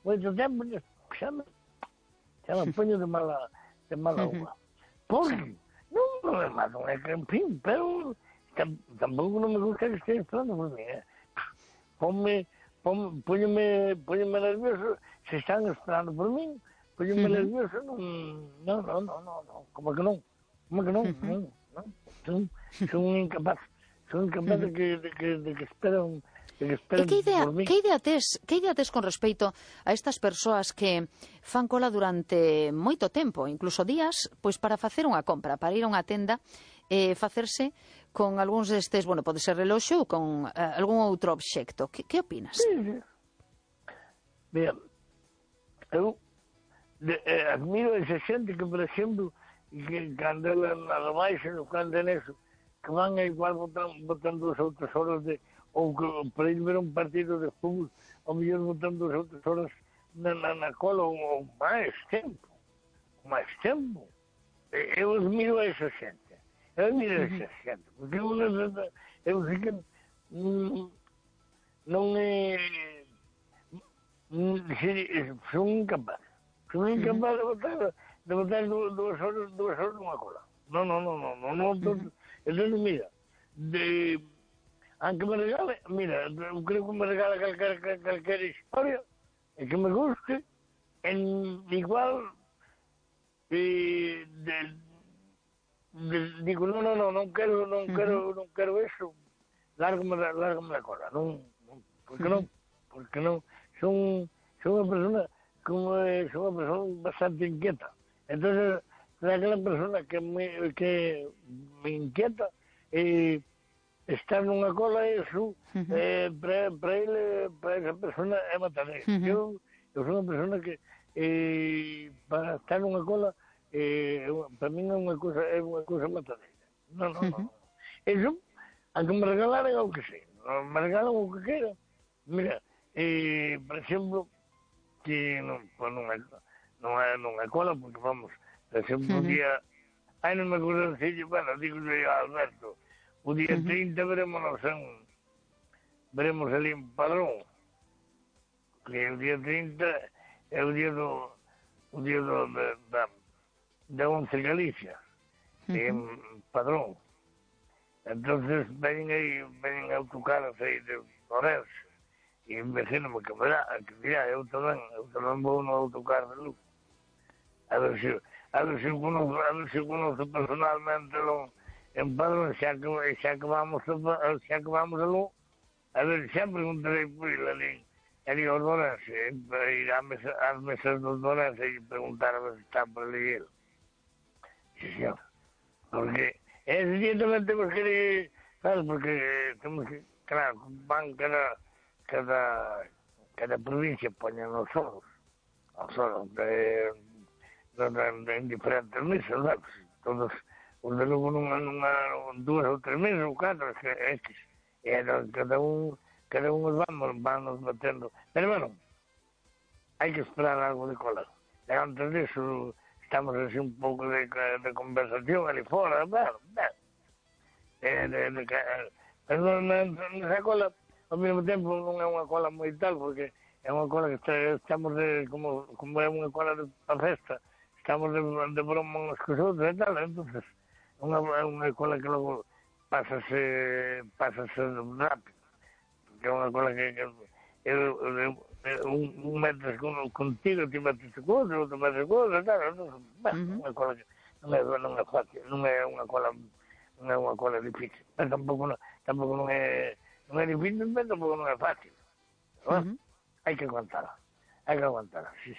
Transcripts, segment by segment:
moito tempo, xa me poño de mala uva. Porque non é malo, é que, en fin, pero tampouco non me gusta que esté esperando por mí, Póñome nervioso se están esperando por min, póñome nervioso, non, como que non, son incapaz de que esperan por min. Que idea tes con respecto a estas persoas que fan cola durante moito tempo, incluso días, pois para facer unha compra, para ir a unha tenda e facerse con algúns destes, bueno, pode ser reloxo ou con algún outro obxecto. Que opinas? Sí. Mira, eu admiro esa xente que, por exemplo, que cando na rebaixa, cando é neso, que van a igual botando 2 ou 3 horas ou que para ir ver un partido de fútbol, ao mellor botando 2 ou 3 horas na cola ou máis tempo. Eu admiro a esa xente. Porque eu sei que non é... Son incapaz de botar 2 horas nunha cola. Non. Entón, mira, aunque me regale, mira, eu creo que me regala calquera historia e que me guste, igual digo, non quero eso, lárgame da cola, porque non, son unha persona bastante inquieta. Entonces, aquela persona que me inquieta, estar nunha cola, eso, para esa persona é matadeira. Eu sou unha persona que, para estar nunha cola, para mí é unha cousa matadeira. Non. Eso, aunque me regalaran o que sei, me regalan o que quero. Mira, por exemplo, que non é cola, porque vamos, por exemplo, o día, non me acordo decirle, bueno, digo a Alberto, o día 30 veremos ali en Padrón, que o día 30 é o día da 11 Galicia, en Padrón. Entonces veñen autocaras aí de Orense, e imagíname que dirá, eu tamén vou no autocar de Lugo. A ver se conozco personalmente en Padrón, xa que vamos a Lugo, a ver, xa preguntarei por ele ali ao Orense, ir ás mesas do Orense e preguntar a ver se está por ali ele. Sí, señor. Porque ese día tamén temos que ir, sabes, porque temos que, claro, van cada provincia poñen os solos en diferentes mesas, sabes? Todos os de Lugo nunha 2 ou 3 mesas ou 4, e cada un vamos batendo. Pero bueno, hai que esperar algo de cola. E antes disso estamos así un pouco de conversación ali fora, nesa cola, ao mesmo tempo non é unha cola moi tal, porque é unha cola que estamos como é unha cola de festa, estamos de broma uns cos outros e tal, entonces é unha cola que logo pásase rápido, porque é unha cola que un metes contigo, ti metes con outro metes con outro, e tal, entonces, unha cola que non é fácil, non é unha cola difícil, pero tampouco non é difícil, pero tampouco non é fácil. Hai que aguantala, sí.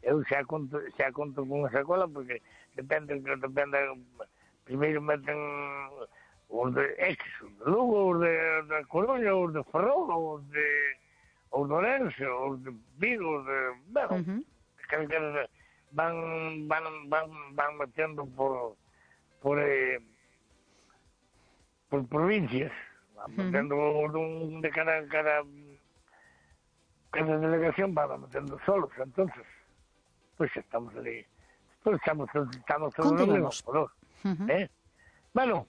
Eu xa conto con esa cola, porque depende, primeiro meten os de X, os de Lugo, os de Coruña, os de Ferrol, os de Ourense, os de Vigo, os de... Bueno, van metendo por provincias, van metendo de cada delegación, van metendo solos, entonces, pues estamos ali, pues estamos todos no mismo color. Bueno,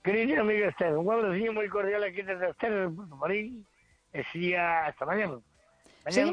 querida amiga Esther, un abrazo moi cordial aquí desde Esther, de Puerto Marín, e hasta mañana.